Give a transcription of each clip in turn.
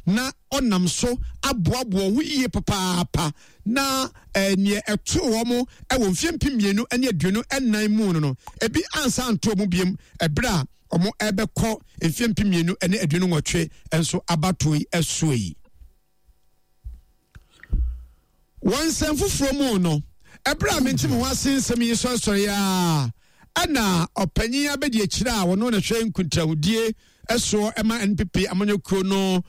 na ɔnam so aboaboa ho yie papaapa na eh, neɛ ɛtoo wɔn wɔ mfeɛ 2024 mu no no ebi ansa anto wɔn biem ɛberɛ a wɔn ɛbɛkɔ mfeɛ 2028 nso abatoɔ yi ɛsoɔ yi. Wɔ nsɛm foforɔ mu no, ɛberɛ a mente me ho ase nsɛm yi sɔresɔre a ɛna ɔpanyin abɛdi akyire a wɔno na hwɛ nkuntahodie soɔ ɛma NPP amanyɔkuo no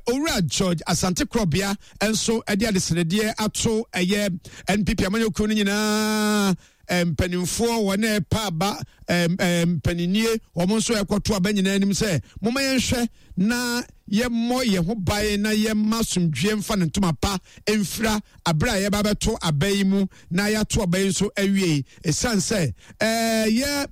owura George Asante Korɔbea nso ɛde adesrɛdeɛ ato ɛyɛ NPP amanyɔkuo no nyinaa mpanimfoɔ wɔn a ɛpa aba mpaninnie wɔn nso ɛkɔto aba nyinaa anim sɛ momma yɛnhwɛ na yɛmmɔ yɛn ho ban na yɛmma asomdwoeɛ mfa ne ntoma pa mfira abere a yɛba bɛto aba yi mu na yɛato aba yi nso awie ɛsiane sɛ ɛyɛ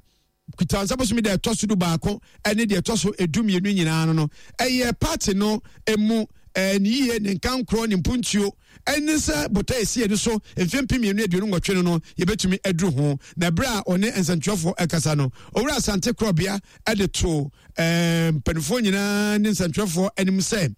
Kutansa bosome deɛ ɛtɔ so 11 ne deɛ ɛtɔ so 12 nyinaa no no ɛyɛ party no mu ne yie ne nkankorɔ ne mpuntuo ɛne sɛ bota ɛsi yɛn so mfeɛ 2028 no no yɛbɛtumi aduru ho. Na ɛberɛ a ɔne nsɛntwerɛfoɔ ɛkasa no, Owura Asante Korɔbea ɛde to mpanimfoɔ nyinaa ne nsɛntwerɛfoɔ anim sɛ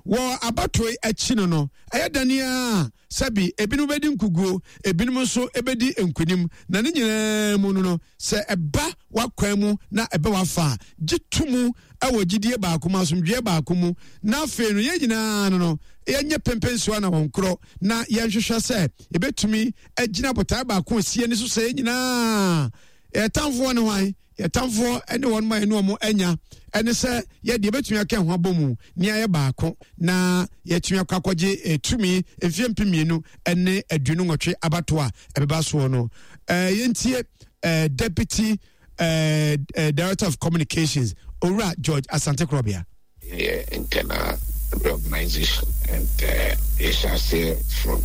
wɔ abatoe akyi no no ɛyɛ dane a sɛbi ebinom bɛdi nkuguo, ebinom nso bɛdi nkunim, na ne nyinaa mu no no sɛ ɛba w'akwan mu na ɛbɛ w'afa a, gye to mu wɔ gyidie baako mu, asomdwoeɛ baako mu, na afei no yɛn nyinaa no no yɛnyɛ pempensoa na wɔn korɔ, na yɛnhwehwɛ sɛ yɛbɛtumi agyina botae baako a ɛsi ani so sɛ yɛn nyinaa yɛtamfoɔ ne hwan. Yɛtamfoɔ ne wɔn ma yɛne wɔn anya ɛne sɛ yɛde yɛbɛtumi aka ho abɔ mu ne ayɛ baako na yɛatumi akɔ akɔgye eh, tumi mfeɛ 2028 abato a ɛbɛba soɔ no. Eh, yɛntie eh, Deputy eh, eh, Director of Communications Owura George Asante Korɔbea. Yɛyɛ internal reorganization and yɛhyɛ aseɛ from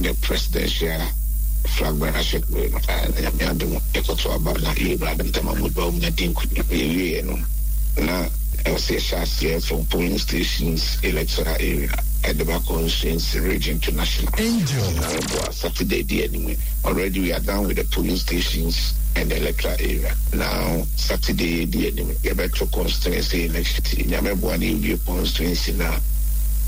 the presidential flag bearership wei no na Nyame adom yɛkɔto aba na yɛwura Dr. Mahmood Bawumia di nkunim. Yɛwieɛ no na ɛwɔ sɛ yɛhyɛ aseɛ from polling stations, electoral area ɛde ba constituency, region to national. Angel. Nyame boa Saturday di anim yi already we are done with the polling stations and the electoral area now Saturday di anim. Yɛbɛto constituency election ti Nyame boa na yɛwie constituency no a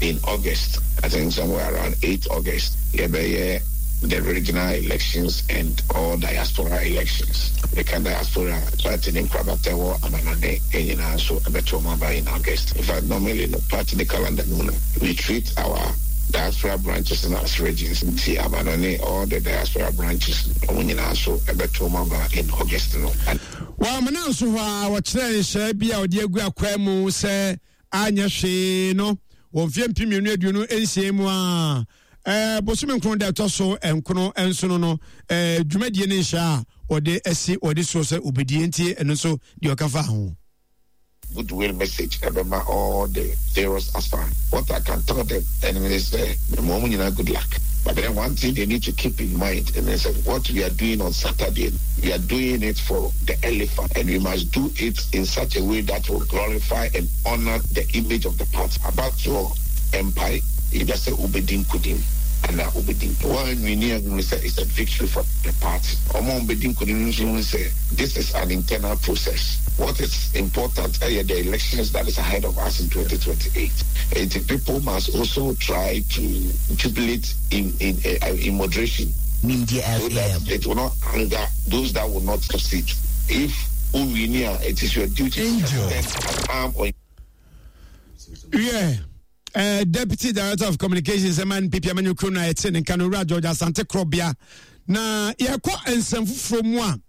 in August, I think somewhere around 8 August yɛbɛyɛ the regional elections and all diaspora elections. Meka diaspora a, party ne nkorabata ɛwɔ amanɔne nyinaa nso ɛbɛto wɔn aba in August. In fact normally no party ne calendar no mu no we treat our diaspora branches no as regions nti amanɔne all the diaspora branches no wɔn nyinaa nso ɛbɛto wɔn aba in August no. Wɔ amena nso hɔ a wɔkyerɛɛ nhyɛɛ bi a ɔde agu akwaa mu sɛ anyɛ hwee no wɔ mfeɛ 2026 mu a bosome nkron da ɛtɔ so nkono nsono no dwumadie ne nhyɛ a wɔde asi wɔde soɔ sɛ obɛdie nti ɛno nso deɛ ɔka fa ho. Goodwill message ɛbɛma all the various aspirants. What I can tell them ɛne ne sɛ mema wɔn nyinaa good luck. But then one thing they need to keep in mind ɛne sɛ what we are doing on Saturday no, we are doing it for the elephant and we must do it in such a way that will glorify and honour the image of the party. Abatoɔ mpae either sɛ wobɛdi nkunim anaa wobɛdi nkunim. Woanwini a hunu sɛ it's a victory for the party. Wɔn a wɔbɛdi nkunim no nso hunu sɛ this is an internal process. What is important ɛyɛ the elections that is ahead of us in 2028. Enti people must also try to jubilate in in in moderation Nimdeɛ so that FM. it will not anger those that will not succeed. If wo wini a, it is your duty to Angel. extend an arm on Yeah. Deputy Director of Communications ɛma NPP amanyɔkuo no a ɛte ne nka no Owura George Asante Korɔbea na yɛkɔ nsɛm foforɔ mu a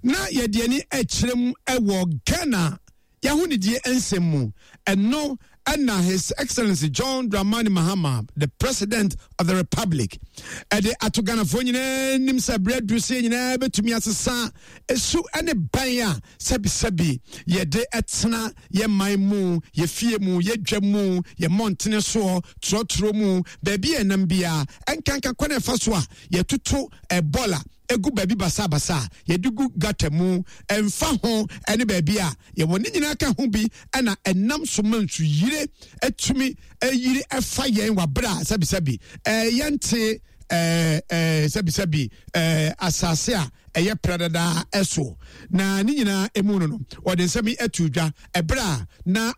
na yɛde ani akyerɛ mu wɔ Ghana yɛahonidie nsɛm mu ɛno ɛna His Excellency John Dramani Mahama, the President of the Republic, ɛde ato Ghanafoɔ nyinaa nim sɛ berɛ aduru sɛ nyinaa bɛtumi asesa esu ne ban a sɛbisɛbi yɛde ɛtena yɛ man mu, yɛ fie mu, yɛ dwa mu, yɛ mmɔntene soɔ, trɔtrɔ mu, baabi a ɛnam biara, ɛnkanka kwan a ɛfa so a yɛtoto ɛbɔla egu baabi basabasa a yɛde gu gata mu, ɛmfa ho ne baabi a yɛwɔ ne nyinaa ka ho bi na ɛnam so ma nsuyire atumi ayiri ɛfa yɛn wɔ abere a sɛbisɛbi ɛɛ yɛnte ɛɛ ɛɛ sɛbisɛbi ɛɛ asase a ɛyɛ pradadaa ɛso na ne nyinaa emu no no wɔde nsɛm yi ato dwa ɛberɛ a na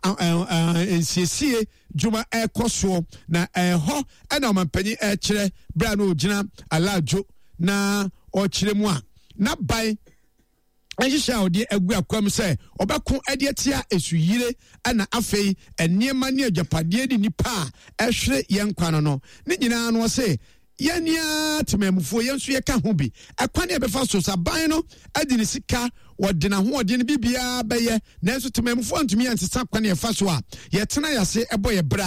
nsiesie dwuma ɛrekɔ soɔ na ɛhɔ ɛna ɔmampanyin ɛrekyerɛ berɛ a na ɔgyina alaadwo na ɔrekyerɛ mu a n'aban nhyehyɛ a ɔde agu akwam sɛ ɔbɛko de atia esuyire ɛna afei nneɛma ne agyapadeɛ ne nipa a ɛhwere yɛn nkwa no no ne nyinaa no ɔse yɛn ara temamufoɔ yɛn nso yɛka ho bi ɛkwan a ɛbɛfa so saban no de ne sika wɔde n'ahoɔden no biribiara bɛyɛ nanso temamufoɔ ntumi ansesa kwan a ɛfa so a yɛtena yɛase ɛbɔ yɛ berɛ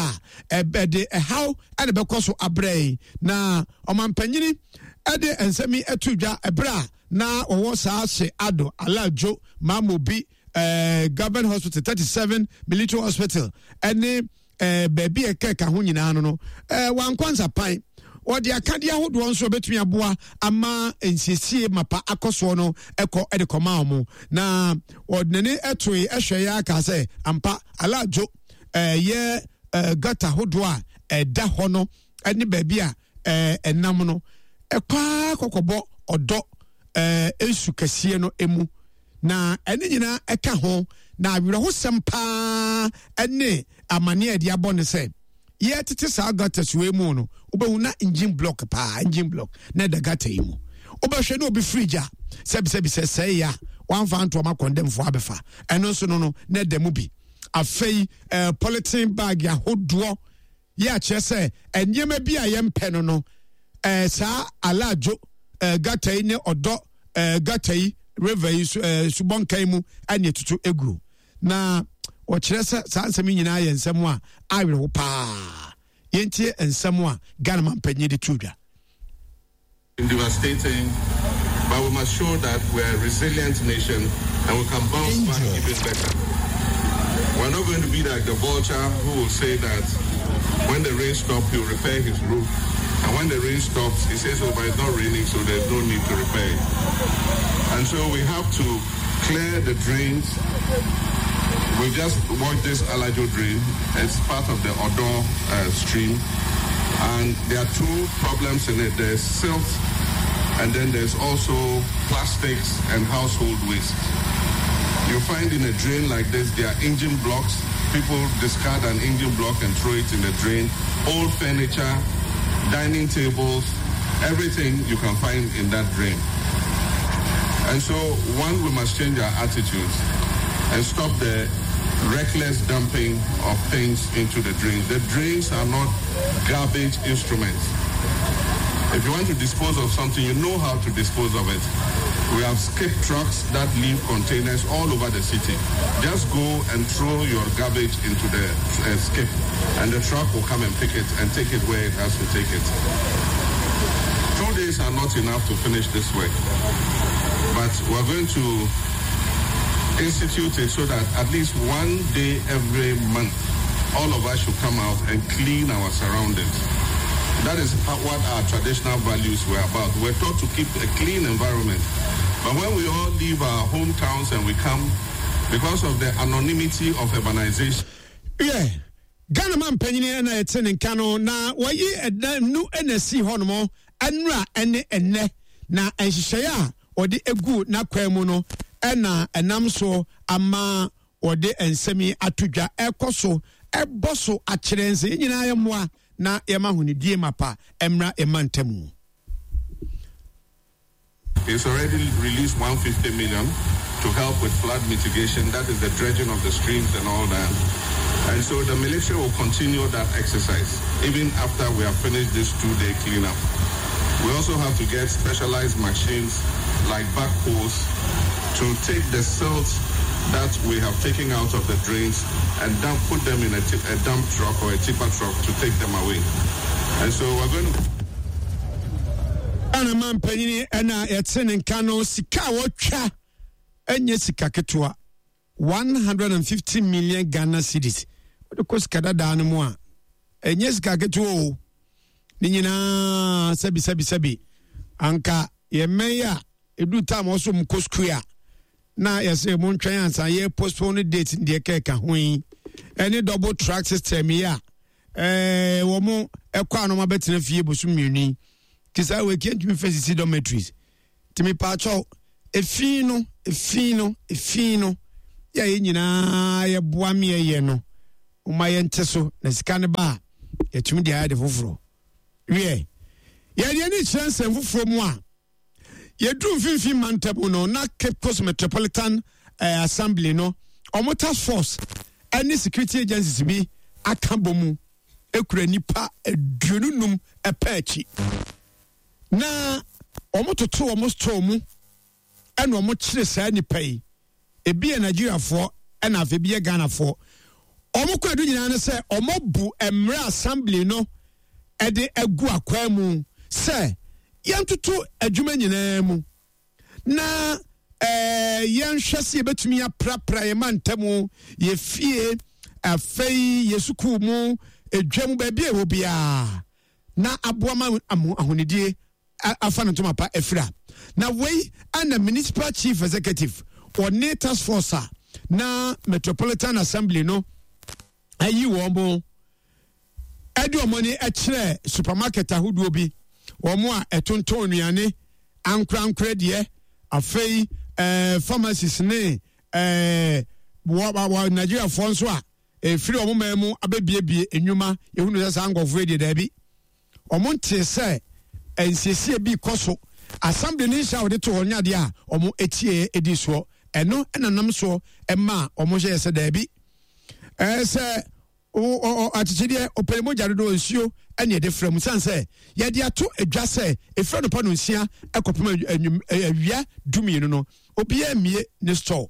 a ɛde ɛhaw ɛna bɛkɔ so abrɛ yi na ɔmampanyini ɛde nsɛm yi ɛto dwa ɛberɛ a na wɔwɔ saa hye ado alajo mamobi eh, government hospital 37 military hospital ɛne eh, baabi a ɛka ɛka ho nyinaa no no eh, wankɔ nsapan wɔde akadeɛ ahodoɔ nso bɛtumi aboa ama nsiesie mapa akɔ soɔ no ɛkɔ de kɔma wɔn na wɔde n'ani ɛtoe ɛhwɛ yɛ aka sɛ ampa alajo ɛyɛ eh, gata ahodoɔ a ɛda hɔ no ɛne baabi a ɛnam no ɛkɔ kɔkɔbɔ ɔdɔ nsu kɛseɛ no mu na ɛne nyinaa ɛka ho na awerɛhosɛm paa ɛne amaneɛ a ɛde abɔ ne sɛ yɛtete saa gutters wei mu no wobɛhu na engine block paa engine block na ɛda gutter yi mu wobɛhwɛ ne obi fridge a sɛbisɛbi sɛ sɛe a wamfa ntoɔma kɔndɛmfoɔ abɛfa ɛno nso no no na ɛda mu bi afei eh, polythene bag ahodoɔ yɛ akyerɛ sɛ nneɛma bi a yɛmpɛ no no ɛɛ saa alaadwo ɛɛ gata yi ne ɔdɔ ɛɛ gata yi river yi so ɛɛ subɔnka yi mu ɛna etutu egu na wɔkyerɛ sɛ saa nsɛm yi nyinaa yɛ nsɛm a awerɛho paa yɛntie nsɛm a Ghana mampanyin de to dwa. Devastating, but we must show that we're a resilient nation and we can bounce back even better. We're not going to be like the vulture who will say that when the rain stops, he'll repair his roof. And when the rain stops, he says, oh, but it's not raining, so there's no need to repair it. And so we have to clear the drains. We just watched this Alajo drain. It's part of the Odor uh, stream. And there are two problems in it. There's silt, and then there's also plastics and household waste. You find in a drain like this, there are engine blocks. People discard an engine block and throw it in the drain. Old furniture, dining tables, everything you can find in that drain. And so, one, we must change our attitudes and stop the reckless dumping of things into the drains. The drains are not garbage instruments. If you want to dispose of something, you know how to dispose of it. We have skip trucks that leave containers all over the city. Just go and throw your garbage into the uh, skip, and the truck will come and pick it and take it where it has to take it. Days are not enough to finish this work, but we're going to institute it so that at least one day every month, all of us should come out and clean our surroundings. That is what our traditional values were about. We're taught to keep a clean environment. But when we all leave our hometowns and we come, because of the anonymity of urbanization. Yeah. Ghana man panyini na yɛte ne nka no na wɔyi ɛda nu na si hɔ nom ɛnura ɛne ɛnɛ na nhyehyɛeɛ a wɔde egu n'akwan mu no ɛna ɛnam so ama wɔde nsɛm yi ato dwa ɛkɔ so ɛbɔ so akyerɛ nsɛ yɛn nyinaa yɛ mmoa na yɛma ahonidie mapa ɛmmra ɛma ntamu. He's already released 150 million to help with flood mitigation, that is the dredging of the streams and all that. And so the military will continue that exercise even after we have finished this two-day cleanup. We also have to get specialized machines like backhoes to take the silt that we have taken out of the drains and dump, put them in a, a dump truck or a tipper truck to take them away. And so we're going to Ghana man panyini ɛna yɛte ne nka no sika a wɔtwa ɛnyɛ sika ketewa 150 million Ghana cedis wode kɔ sika dadaa no mu a ɛnyɛ sika ketewa o ne nyinaa sɛbi sɛbi sɛbi anka yɛmmɛn yi a ɛdu tam ɔso mu kɔ sukuu a na yɛsɛ mo ntwɛn ansa yɛ postpone date deɛ kɛka ho yi ɛne double track system yi a ɛɛ wɔn ɛkɔ a na wɔn abɛtena fie bosom mmienu yi te saa wɔ ekia ntumi fɛ sisi dormitories tìmi paakyɛw. Efi no, efi no, efi no, yɛ a yɛn nyinaa yɛboa meɛyɛ no, momma yɛnte so na sika no ba a, yɛtumi de ayɛ de foforɔ. Wiɛ, yɛde ani kyerɛ nsɛm foforɔ mu a, yɛduru mfimfini mantam no na Cape Coast Metropolitan eh, Assembly no, wɔn task force ne security agencies bi aka bɔ mu ekura nipa 25 ɛpɛ akyi. Na wɔtoto wɔn store mu ɛna wɔkyere saa nipa yi. Ebi yɛ Nigeriafoɔ ɛna afei ebi yɛ Ghanafoɔ. Wɔn kɔ adu nyinaa ne sɛ wɔabu mmerɛ assembly no ɛde agu akwaa mu sɛ yɛntoto adwuma nyinaa mu na ɛɛ yɛnhwɛ sɛ yɛbɛtumi aprapra yɛn mantam, yɛ fie, afei yɛ sukuu mu, edwa mu, baabi a ɛwɔ biara. na aboa ma ahonidie afa no ntoma pa afira. Na wei ana Municipal Chief Executive ɔne task force a na Metropolitan Assembly no ayi wɔn mo ɛde wɔn ani kyerɛ supermarket ahodoɔ bi wɔn a ɛtontɔn nnuane ankorankorɛ deɛ afei ɛɛ pharmacies ne ɛɛ wɔ wɔ Nigeriafoɔ nso a ɛfiri wɔn man mu abɛbiebie nnwuma. Yɛhunu sɛ saa nkurɔfoɔ yi deɛ daabi, wɔn ntee sɛ nsiesie bi kɔ so. Assembly no nhyɛ a wɔde to hɔ nyɛ adeɛ a wɔn ɛtieɛ ɛdi soɔ. Ɛno ɛna nam soɔ ɛma wɔn hyɛɛ sɛ daabi, ɛɛ sɛ akyekyedeɛ ɔpɛne mogya dodoɔ nsuo ɛne ɛde frɛ mu sane sɛ yɛde ato adwa sɛ ɛfiri anɔpa no nsia ɛkɔpem awia 12 no obiara mmie ne store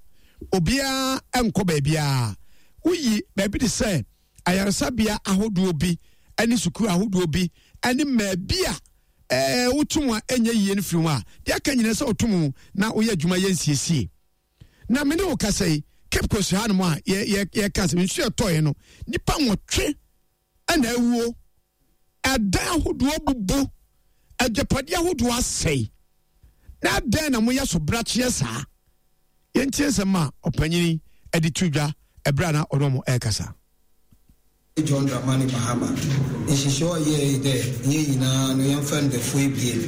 obiara nkɔ baabiara woyi baabi te sɛ ayaresabea ahodoɔ bi ne sukuu ahodoɔ bi ne mmaabi a ɛɛ wotum a ɛnyɛ yie no firi ho a deɛ aka nyinaa sɛ wotum na woyɛ adwuma yɛ nsiesie na me ne wo kasa yi Cape Coast hanom a yɛka sɛ nsuo ɛtɔeɛ no nipa nwɔtwe ɛna awuo ɛdan ahodoɔ bubu agyapadeɛ ahodoɔ asɛe na adɛn na moyɛ so brakyeɛ saa yɛntie nsɛm a ɔpanyini de to dwa ɛberɛ a na ɔne ɔmo ɛrekasa. John Dramani Mahama nhyehyɛɛ a ɔyɛe nye dɛ hɛn nyina no yɛmfa ndafua ebien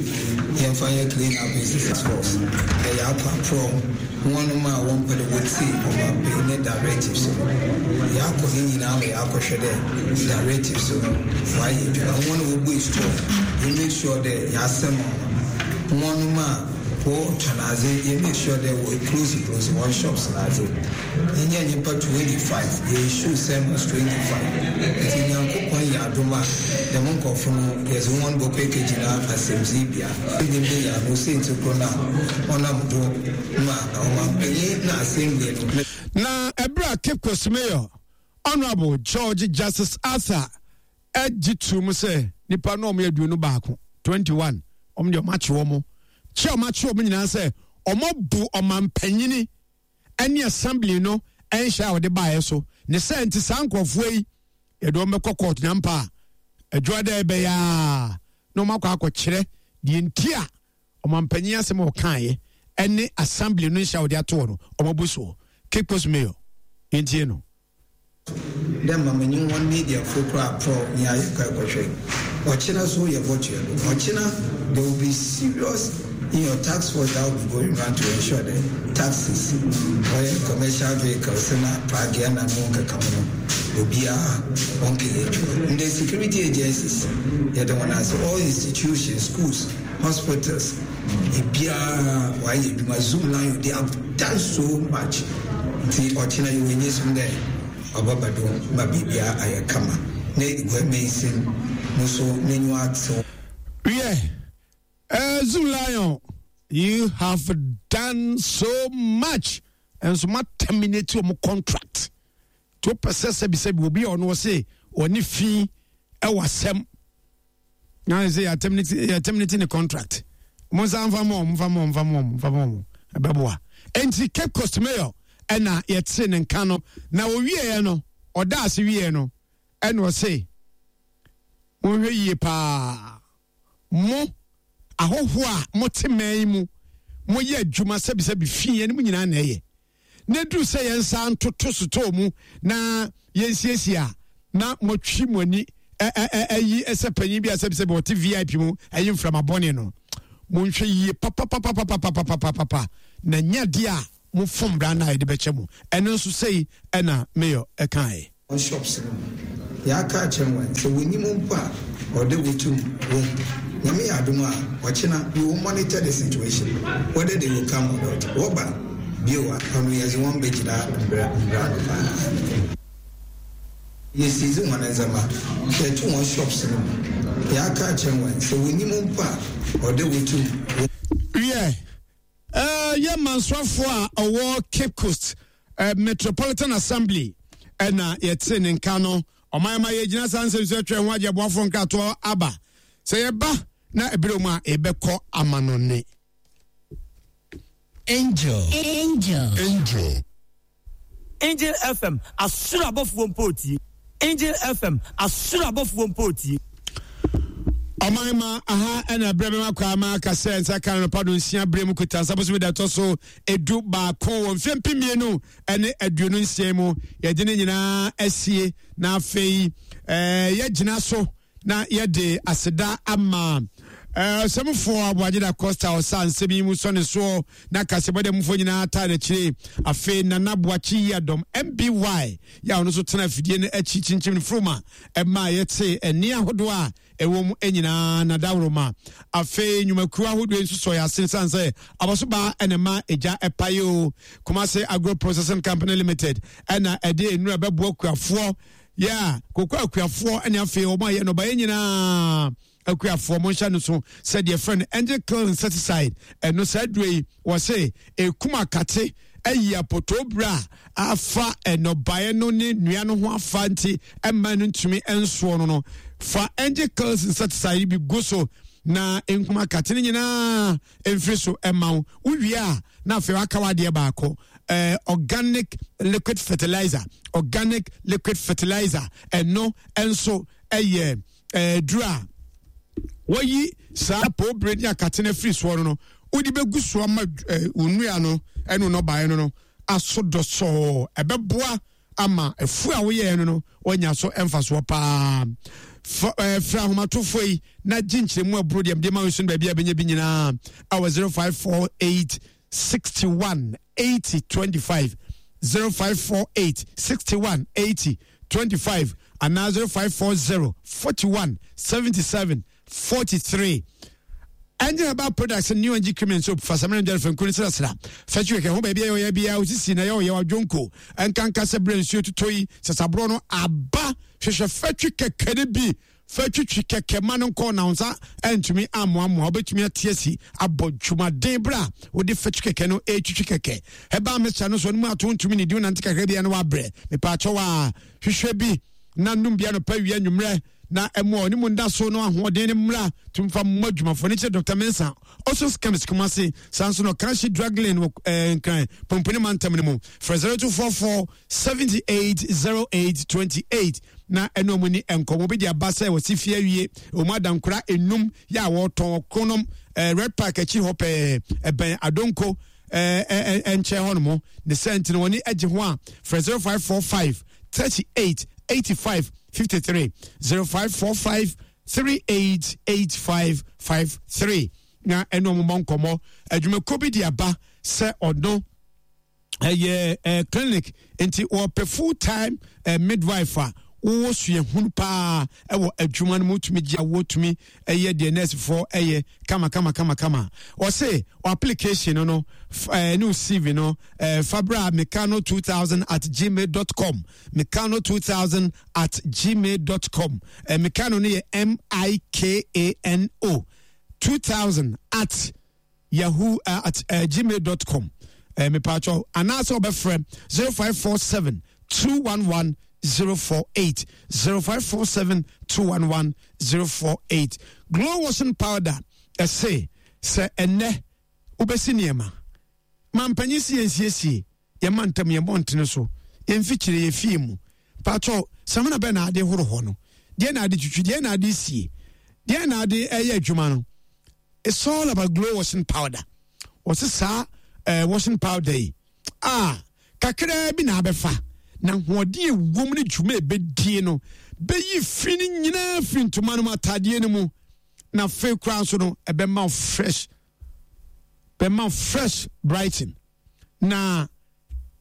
yɛmfa nyɛ clean up exercise force na yɛakɔ aprɔw hɔnnom a wɔmmpɛ dɛ wotsie ɔmampanyin ne directives no. Yɛakɔ ne nyina ma yɛakɔhwɛ dɛ directives no wɔayɛ edwuma. Hɔn a wobue store yɛ make sure dɛ yɛasɛm hɔn. Hɔnnom a wɔtɔn adze yɛ make sure dɛ wɔ close close hɔn shops n'adze. Yenya nyimpa 25, yɛ issue sermons 25. Ntsi Nyankopɔn yɛ adom a, dɛm nkorɔfo no yɛdze hɔn bɔkɔ ekegyina asɛmdziibea. Minyim dɛ yɛano siantsir kor no a ɔnam do ma ɔmampanyin na assembly no. Na ɛberɛ a Cape Coast Mayor, Honourable George Justice Arthur gye too mu sɛ nnipa no a wɔyɛ 21, 21, wɔn deɛ wɔakye wɔn, kye a wɔakye wɔn nyinaa sɛ wɔabu ɔmampanyini ne assembly no nhyɛ a wɔde baeɛ so ne sɛ nti saa nkurɔfoɔ yi yɛde wɔn bɛkɔ court nyampa a adwuma dɛ ɛbɛyɛ a na wɔn akɔ akɔkyerɛ deɛ nti a ɔmampanyin asɛm a ɔkaeɛ ɛne assembly no nhyɛ a wɔde ato hɔ no wɔn abu soɔ. Cape Coast Mayor yɛntie no. Dɛ ma menye hɔn mediafo koraa prɔw nyia yɛkɔe kɔhwɛ. Ɔkyena so yɛbɔtoa do. Ɔkyena there will be serious in your task force that will be going round to ensure dɛ taxis, ɔyɛ commercial vehicles na pragea na no nkekaho no obiara ɔnnkɛyɛ edwuma. Ndɛ security agencies yɛda hɔn ase, all institutions, schools, hospitals, Obiara ɔayɛ edwuma zoom lion they have done so much ntsi ɔkyena yɛwɔ enyisum dɛ ɔbɛba do ma biribiara ayɛ kama na Eguai Mansin no so n'enyiwa atsew. Wiɛ, eh, Zoom Lion, you have done so much. Nso ma terminate wɔn contract. To pɛ sɛ sɛbisɛbi obi a ɔno ɔse ɔne fi ɛwɔ asɛm. Na sɛ yɛ terminate yɛ terminate ne contract. Mo nsa nfa mo nfa mo nfa mo nfa mo ɛbɛboa. Enti Cape Coast Mayor ɛna yɛte ne nka no na owieɛ no ɔda ase wieɛ no ɛna ɔse monhwɛ yie paa mo ahɔhoɔ a mote man yi mu moyɛ adwuma sɛbisɛbi fi yɛn mu nyinaa na ɛyɛ na ɛduru sɛ yɛn nsa ntoto sotɔɔ mu na yɛnsiesie a na moatwi mo ani ayi sɛ panyin bi a sɛbisɛbi ɔte vip mu ayi mframa bɔne no monhwɛ yie papapapapapapapapa. na nyɛ adeɛ a mofom mmara no a yɛde bɛkyɛ mo. Ɛno nso sei ɛna Mayor ɛkaeɛ. Wɔn shops no mu. Yɛaka akyerɛ hɔn sɛ wonyim mpo a ɔwɔ dɛ wotum wohu. Nyame yɛ adom a ɔkyena we will monitor the situation whether they will come or not. Wɔba bio a ɔno yɛdze hɔn begyina mbra mbra ano paa. Yesiizi hɔn ndzɛmba, yɛto hɔn shops no mu. Yɛaka akyerɛ hɔn sɛ wonyim mpo a ɔwɔ dɛ wotum wohu. Wiɛ, yɛ mansoafoɔ a ɔwɔ Cape Coast Metropolitan Assembly ɛna yɛte ne nka no. Ɔman ma yɛgyina saa nsɛm so atwa ho agye aboafoɔ nkratoɔ aba. Sɛ yɛba na ɛberɛ mu a yɛbɛkɔ amanɔne. Angel. Angel. Angel. Angel FM, asoro abɔfoɔ mpo retie. Angel FM, asoro abɔfoɔ mpo retie. Ɔman ma aha ɛna berɛ bɛma kɔ ama aka sɛ nsa ka no nɔpa do nsia berɛ mu kuta nsa bosome da ɛtɔ so 11 wɔ mfeɛ 2026 mu. Yɛde ne nyinaa asie na afei yɛgyina so na yɛde aseda ama ɔsɛmfoɔ Aboagye da Costa ɔsa nsɛm yi mu sɔ ne soɔ na kasɛbɔ dɛ mufoɔ nyinaa taa n'akyire. Afei Nana Boakye yi adɔm MBY yɛ a ɔno nso tena afidie no akyi kyinkyim no furuma ɛma yɛte ɛnne ahodoɔ a ɛwɔ mu nyinaa na dawuroma. Afei nnwumakuo ahodoɔ nso sɔ yɛ ase sane sɛ abɔsobaa ɛna ma egya ɛpae o. Kumase Agro Processing Company Limited ɛna ɛde nnura bɛboa kuafoɔ yɛ a koko akuafoɔ ne afei wɔn a yɛ nnɔbaeɛ nyinaa akuafoɔ mo nhyɛ no so sɛ deɛ frɛ no angel kill insecticide. Ɛno saa duro yi wɔse ɛkum akate ayi apotoo berɛ a afa nnɔbaeɛ no ne nnua no ho afa nti ɛmma no ntumi nsoɔ no no fa angel kill insecticide bi gu so na nkum akate no nyinaa mfiri so ɛma wo. Wowie a na afei waka wadeɛ baako, organic liquid fertilizer. Organic liquid fertilizer ɛno nso ɛyɛ duro a wɔyi saa poobere ne akate no afiri soɔ no no wode bɛgu soɔ ma wo nnua no ɛne nnɔbaeɛ no no aso dɔsɔɔ. Ɛbɛboa ama afuo a woyɛɛ no no wanya so mfasoɔ paa. Frɛ ahomatorofoɔ yi na gye nkyerɛmu aburo deɛ mede ma wo so no baabi a bɛnya bi nyinaa awɔ 0548 61 80 25, 0548 61 80 25 anaa 0540 41 77 43. Engine Herbal Products New Engine Cream and Soap Fasamina Njɛrɛ Fɛnkuru ne Srasra Fɛtwi kɛkɛ ho baabi a yɛyɛ biara osisi na yɛwɔ yɛwɔ adwonko nkanka sɛ berɛ nsuo totɔ yi sasaborɔ no aba. Hwehwɛ fɛtwi kɛkɛ no bi fɛtwitwi kɛkɛ ma no nkɔ na wo nsa antumi ammoamoa. Wobɛtumi ate asi abɔ dwumaden berɛ a wode fɛtwi kɛkɛ no ɛtwitwi kɛkɛ. Herbal mixture no so no mu ato ntumi ne di wonante kakra biara no wabrɛ. Mepaakyɛw a hwehwɛ bi na nom bia nɔpa wia nwummerɛ na ɛmoa ɔne mu nda so no ahoɔden no mmra tumfa mmɔ adwumafoɔ no kyerɛ Dr. Mensah Osos Chemist Kumasi saa nso no Kanshi Drug Lane wɔ Nkran Pomponi mantam no mu. Frɛ 0244 78 08 28 na ɛne ɔmo ni nkɔmmɔ bi de aba sɛ wɔsi fie awie ɔmo adankora enum yɛ a wɔtɔn ɔkronom Red Park akyi hɔ pɛɛ ɛbɛn Adonko nkyɛn hɔ nom ne sɛ nti no wɔne agye ho a frɛ 0545 38 85 53, 0545 38 85 53 na ɛne ɔmo bɔ nkɔmmɔ. Adwumakuo bi de aba sɛ ɔno ɛyɛ clinic nti wɔpɛ full time midwife a wowɔ suahunu paa ɛwɔ adwuma no mu, wotumi gye a wotumi ɛyɛ deɛ nursefoɔ ɛyɛ kama kama kama kama. Ɔse application no no ne wo CV no fabra mekano 2000 at gmail dot com, mekano 2000 at gmail dot com. Mekano no yɛ M I K A N O 2000 at yahoo at gmail dot com. Mepatwɔ anaasɛ ɔbɛfrɛ 0547 211 048, 0547 211 048. Glow washing powder ɛse sɛ ɛnɛ wobɛsi nneɛma ma mpanyin si yɛnsiesie yɛma ntam yɛn mmɔntene so yɛmfikyire yɛ fie mu. Patwɔ samina bɛ na ade horo hɔ no deɛ na ade twitwi deɛ na ade sie deɛ na ade ɛyɛ adwuma no. It's all about glow washing powder. Wɔse saa washing powder yi a kakraa bi na abɛfa na ahoɔden ewom ne dwuma ebedie no bɛyi fi no nyinaa firi ntoma no mu ataadeɛ no mu na afei koraa nso no ɛbɛma fresh. Bɛma fresh brighton na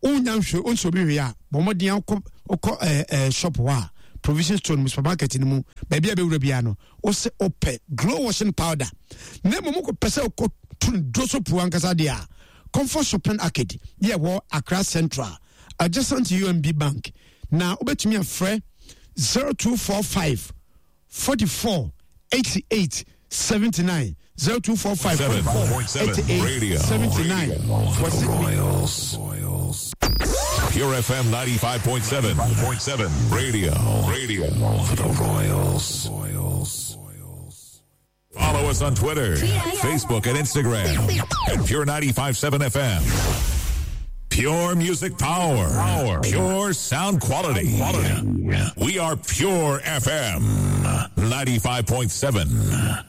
wonya nhwɛ wonso obi hwee a bɔ mmɔden akɔ wokɔ ɛɛ ɛɛ shop hɔ a provision store no mu supermarket no mu baabi a bɛwura biara no wosɛ wopɛ glow washing powder na mmom wokɔpɛ sɛ wokɔ tu no duro so puo ankasa deɛ a comfort shopping arcade yɛ wɔ Accra Central adjacent UMB Bank na wobɛtumi afrɛ 0245 44 88 79 0245 44 88 79 For the Royals. Pure FM 95.7. 7 Radio. Radio. For the Royals. Follow us on Twitter, Facebook, and Instagram at Pure 95.7 FM. Pure music power. Power. Pure sound quality. Quality. We are Pure FM 95.7.